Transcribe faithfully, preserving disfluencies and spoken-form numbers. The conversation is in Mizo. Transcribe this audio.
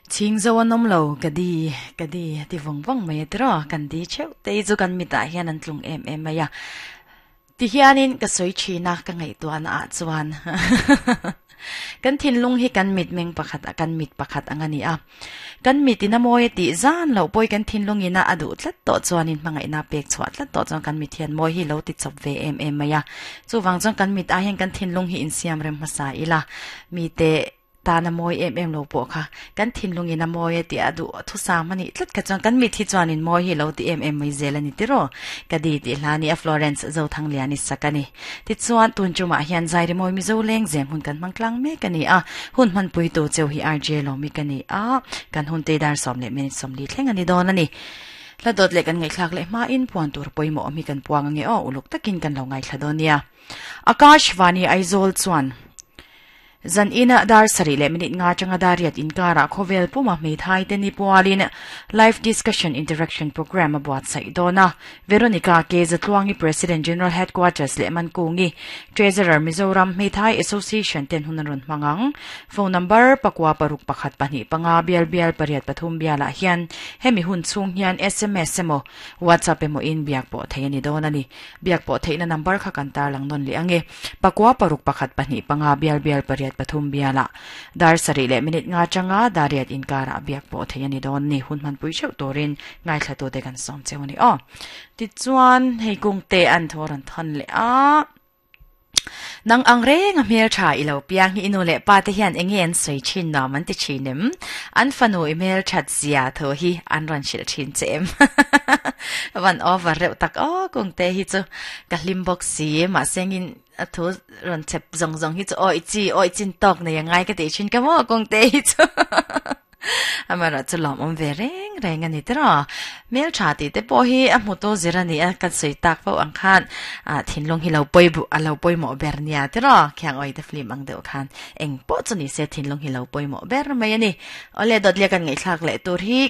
Ching zo an awm lo ka di ka di ti vawng vawng mai a tiraw kan di theuh te hi chu kan mitah hian an tlung em em mai a ti hianin ka sawi thin a ka ngaihtuahna ah chuan kan thinlung hi kan mit meng pakhat a kan mit pakhat ang a ni a kan mit in a mawi a tih zan loh pawh kan thinlung ina a duh tlat tawh chuanin hmangaihna pek chhuah tlat tawh chuan kan mit hian mawi hi lo ti chawp ve em em mai a chuvang chuan kan mit ah hian kan thinlung hi insiam rem hmasa ila mite tana mawi em em lo pawh kha kan thinlung in a mawi a tih a duh thusam a nih tlat kha chuan kan mit hi chuanin mawi hi lo ti em em mai zel a ni tiraw ka di tih hla ni a Florence Zothangliani sak a ni tichuan tun chumah hian Zairi mawi Mizo leng zem hun kan hmang tlang mek a ni a hun hmanpui tu cheu hi R J Lawmi ka ni a kan hun te dar sawm leh minute sawmli thleng a ni dawn a ni hla dawt leh kan ngaihthlak leh hmain puan tur pawimawh awm hi kan puang ange aw uluk takin kan lo ngaithla dawn nia Akashvani Aizawl chuan Zan ina dar sarih leh minute nga atanga dar riat inkarah khawvel puma hmeithai te ni pualin Live Discussion Interaction Programme a buatsaih dawn a. Veronica K. Zatluangi President General Headquarters leh Mankungi Treasurer Mizoram Hmeithai Association ten hun an rawn hmang ang. Phone number pakua paruk pakhat pahnih panga bial bial pariat pathum bialah hian hemi hun chhung hian S M S emaw WhatsApp emaw in biak pawh theih a ni dawn a ni. Biak pawh theihna number kha kan tarlang nawn leh ang e. Pakua paruk pakhat pahnih panga bial bial pariat pathum biala dar sarih leh minute nga atanga dar riat inkarah biak pawh theih a ni dawn ni hun hmanpui theuh turin ngaithla tute kan sawm cheu a ni aw tichuan hei kung te an thaw rawn thawn leh a nang ang reng a hmel tha i lo piang hi i nu leh pa te hian enge an sawi thin nuam an ti thin em an fanu i hmel that zia thaw hi an rawn hrilh thin che em van over reuh tak aw kung te hi chu ka hlim bawk si mahse engin a thu rawn chep zawng zawng hi chu awi chi awi chin tawk nei angai ka tih thin ka maw kawng te hi chu amaherawh chu lawm awm ve reng reng a ni tiraw hmel tha tih te pawh hi a hmu tu zir a ni a kan sawi tak fo ang khan ah thinlung hi lo pawi bu a lo pawimawh ber nia tiraw khiang awi te film ang deuh khan eng pawh chu ni se thinlung hi lo pawimawh ber mai a ni awle dawt leh kan ngaihthlak leh tur hi